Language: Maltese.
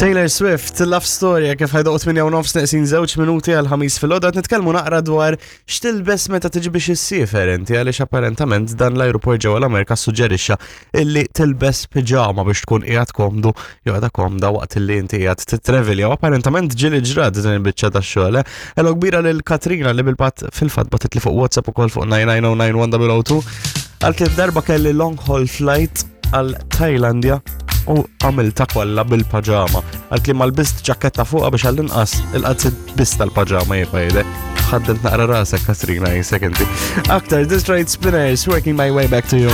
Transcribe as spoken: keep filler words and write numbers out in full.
Taylor Swift, Love Story, kif ħa jdoqqu tmienja u nofs neqsin żewġ minuti għall-ħames filgħodu, qed nitkellmu naqra dwar x'tilbes meta tiġi biex issiefer inti, għaliex apparentament dan l-aeroport ġewwa l-Amerika suġġerixxa illi tilbes piġama biex tkun qiegħed komdu jew qiegħda komda waqt illi inti qiegħed titrevelja u apparentament ġieli ġrat din il-biċċa tax-xogħol. eh. Hello kbira lil Katrina li bil-pat fil-fatt bagħtitli fuq WhatsApp ukoll fuq nine nine zero nine one zero zero two. Għal darba kelli long haul flight għal Tajlandja u għamilta kollha bil-paġama. Għalt li ma lbist ġaketta fuqha biex għall-inqas il-qalziet biss tal-paġama jibqa' jide. Ħaddemt naqra rasek, Katrina, jisek inti. Aktar Detroit Spinners, "Working My Way Back to You".